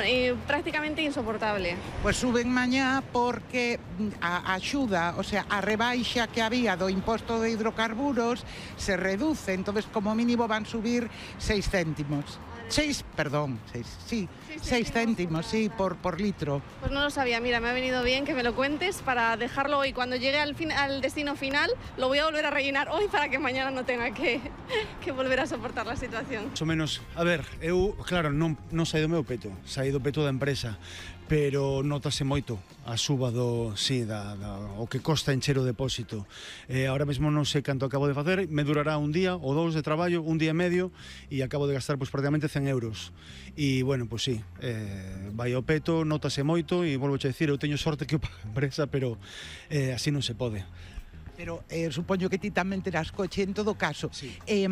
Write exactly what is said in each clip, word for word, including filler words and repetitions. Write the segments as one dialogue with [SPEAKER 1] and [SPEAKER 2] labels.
[SPEAKER 1] eh, prácticamente insoportable.
[SPEAKER 2] Pois suben mañá porque a axuda, o sea, a rebaixa que había do imposto de hidrocarburos se reduce, entonces como mínimo van subir seis céntimos. Seis, perdón, seis, sí, seis céntimos, sí, por, por litro.
[SPEAKER 1] Pues no lo sabía, mira, me ha venido bien que me lo cuentes para dejarlo hoy. Cuando llegue al, fin, al destino final, lo voy a volver a rellenar hoy para que mañana no tenga que, que volver a soportar la situación.
[SPEAKER 3] Más ou menos, a ver, eu, claro, non, non saí do meu peto, saí do peto da empresa, pero notase moito a suba do, sí, da, da, o que costa encher o depósito. Eh, ahora mesmo non sei canto acabo de facer, me durará un día ou dous de traballo, un día e medio, e acabo de gastar pois, prácticamente cen euros. E, bueno, pois sí, eh, vai ao peto, notase moito, e volvo a decir, eu teño sorte que o paga a empresa, pero eh, así non se pode.
[SPEAKER 2] Pero eh, supoño que ti tamén terás coche en todo caso.
[SPEAKER 3] Sí.
[SPEAKER 2] Eh,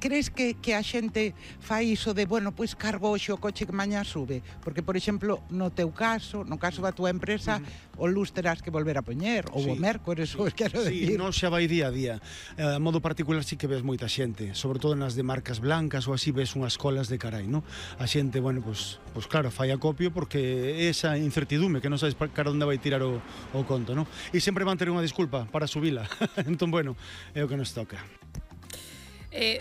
[SPEAKER 2] crees que, que a xente fai iso de, bueno, pois cargo hoxe o coche que mañá sube? Porque, por exemplo, no teu caso, no caso da tua empresa, uh-huh. o luz terás que volver a poñer, ou
[SPEAKER 3] sí,
[SPEAKER 2] o mércores, sí, ou quero
[SPEAKER 3] sí,
[SPEAKER 2] decir.
[SPEAKER 3] Non xa vai día a día. Eh, a modo particular sí que ves moita xente, sobre todo nas de marcas blancas ou así ves unhas colas de carai, non? A xente, bueno, pois, pois claro, fai acopio porque esa incertidume que non sabes cara onde vai tirar o, o conto, non? E sempre van ter unha disculpa para subila. Entón, bueno, é o que nos toca.
[SPEAKER 4] Eh,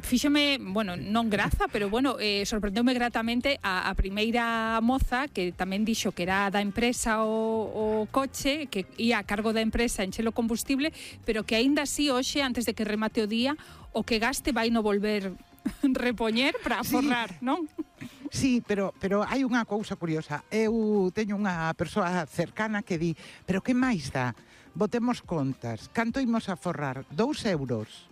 [SPEAKER 4] fíxome, bueno, non graza, pero bueno, eh, sorprendeume gratamente a, a primeira moza que tamén dixo que era da empresa o, o coche, que ia a cargo da empresa enchelo combustible, pero que aínda así hoxe, antes de que remate o día, o que gaste vai no volver repoñer para aforrar, sí. Non?
[SPEAKER 2] Sí, pero, pero hai unha cousa curiosa. Eu teño unha persoa cercana que di, pero que máis dá? Botemos contas. Canto imos a forrar? Dous euros?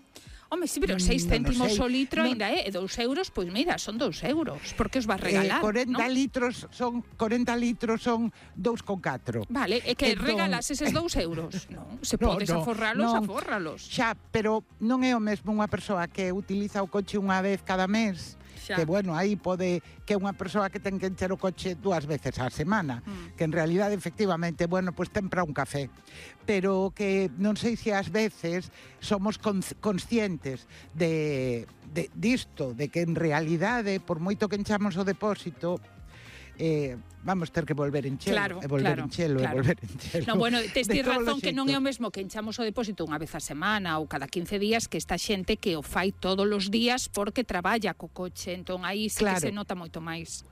[SPEAKER 4] Home, sí, pero seis céntimos
[SPEAKER 2] no
[SPEAKER 4] o litro
[SPEAKER 2] non...
[SPEAKER 4] ainda é, e dous euros, pois mira, son dous euros. Por que os vas regalar,
[SPEAKER 2] eh, corenta
[SPEAKER 4] non?
[SPEAKER 2] litros son corenta litros son dous con catro.
[SPEAKER 4] Vale, é que
[SPEAKER 2] entón...
[SPEAKER 4] regalas eses dous euros. Non, se
[SPEAKER 2] no,
[SPEAKER 4] podes
[SPEAKER 2] no,
[SPEAKER 4] aforralos,
[SPEAKER 2] non.
[SPEAKER 4] afórralos.
[SPEAKER 2] Xa, pero non é o mesmo unha persoa que utiliza o coche unha vez cada mes. Xa. Que, bueno, aí pode que unha persoa que ten que encher o coche dúas veces á semana, mm. que en realidade, efectivamente, bueno, pois pues ten para un café. Pero que non sei se ás veces somos conscientes de, de disto, de que en realidade, por moito que enchamos o depósito, eh, vamos ter que volver enchelo,
[SPEAKER 4] claro,
[SPEAKER 2] e volver
[SPEAKER 4] claro,
[SPEAKER 2] enchelo,
[SPEAKER 4] claro.
[SPEAKER 2] e volver enchelo.
[SPEAKER 4] No, bueno, tes ti razón que non é o mesmo que enchamos o depósito unha vez a semana ou cada quince días que esta xente que o fai todos os días porque traballa co coche, entón aí sí claro. que se nota moito máis.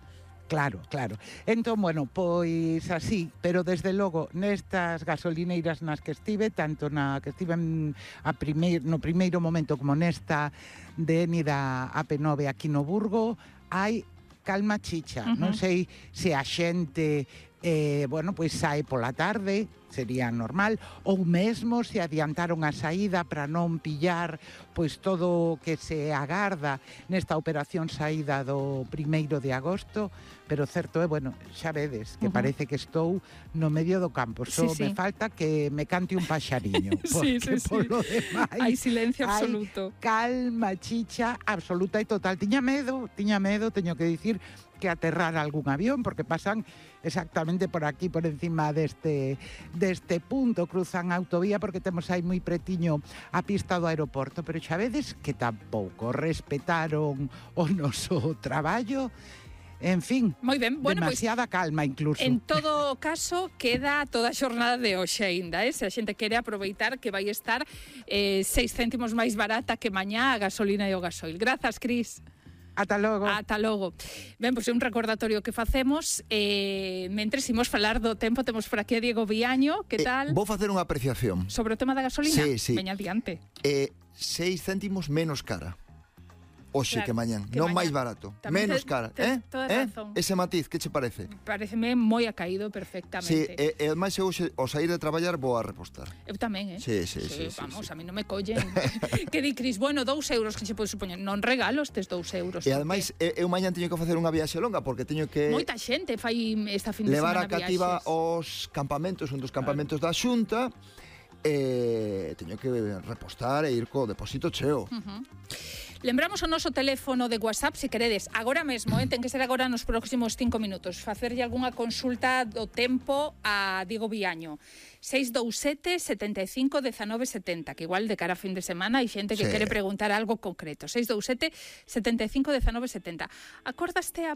[SPEAKER 2] Claro, claro. Entón, bueno, pois así, pero desde logo nestas gasolineiras nas que estive, tanto na que estive a primeir, no primeiro momento como nesta de Eni da A P nove aquí no Burgo, hai calma chicha. Uh-huh. Non sei se a xente eh, bueno, pois sae pola tarde, sería normal, ou mesmo se adiantaron a saída para non pillar pois todo o que se agarda nesta operación saída do primeiro de agosto, pero certo é, bueno, xa vedes que uh-huh. parece que estou no medio do campo, só sí, me sí. falta que me cante un paxariño, porque sí, sí, polo sí. demais
[SPEAKER 4] hai silencio absoluto.
[SPEAKER 2] Hai calma chicha absoluta e total. Tiña medo, tiña medo, teño que dicir, que aterrar algún avión, porque pasan exactamente por aquí, por encima deste, deste punto, cruzan a autovía, porque temos aí moi pretiño a pista do aeroporto, pero xa vedes que tampouco respetaron o noso traballo. En fin,
[SPEAKER 4] moi ben, bueno,
[SPEAKER 2] demasiada
[SPEAKER 4] pues,
[SPEAKER 2] calma incluso.
[SPEAKER 4] En todo caso, queda toda a xornada de hoxe aínda, eh? Se a xente quere aproveitar que vai estar eh, seis céntimos máis barata que mañá a gasolina e o gasoil. Grazas, Cris.
[SPEAKER 2] Ata logo.
[SPEAKER 4] Ata logo. Ben, pois é un recordatorio que facemos. Eh, mentres imos falar do tempo, temos por aquí a Diego Viaño. Que tal?
[SPEAKER 5] Eh, vou facer unha apreciación.
[SPEAKER 4] Sobre o tema da gasolina?
[SPEAKER 5] Sí, sí.
[SPEAKER 4] Veña adiante.
[SPEAKER 5] Eh, seis céntimos menos cara. Oxe, claro, que mañán, que non máis barato, tamén menos te, cara, te, eh? eh? Ese matiz, que che parece?
[SPEAKER 4] Pareceme moi acaído perfectamente.
[SPEAKER 5] Sí, e, e ademais eu hoxe, ao sair de traballar vou a repostar.
[SPEAKER 4] Eu tamén, eh?
[SPEAKER 5] Sí, sí,
[SPEAKER 4] sí,
[SPEAKER 5] sí,
[SPEAKER 4] vamos,
[SPEAKER 5] sí,
[SPEAKER 4] a mí non me collen. Que di, Cris, bueno, dous euros que se pode supoñer, non regalo estes dous euros.
[SPEAKER 5] E ademais, porque... eu mañán teño que facer unha viaxe longa, porque teño que...
[SPEAKER 4] Moita xente fai esta fin de semana
[SPEAKER 5] levar a cativa
[SPEAKER 4] viaxes.
[SPEAKER 5] Os campamentos, un dos campamentos claro. da Xunta, e teño que repostar e ir co depósito cheo.
[SPEAKER 4] Uh-huh. Lembramos o noso teléfono de WhatsApp, se queredes, agora mesmo, eh, ten que ser agora nos próximos cinco minutos, facerlle algunha consulta do tempo a Diego Viaño. seis dous sete, setenta e cinco, dezanove setenta, que igual de cara a fin de semana hai xente que sí. quere preguntar algo concreto. seis dous sete, setenta e cinco, dezanove setenta. Acordaste a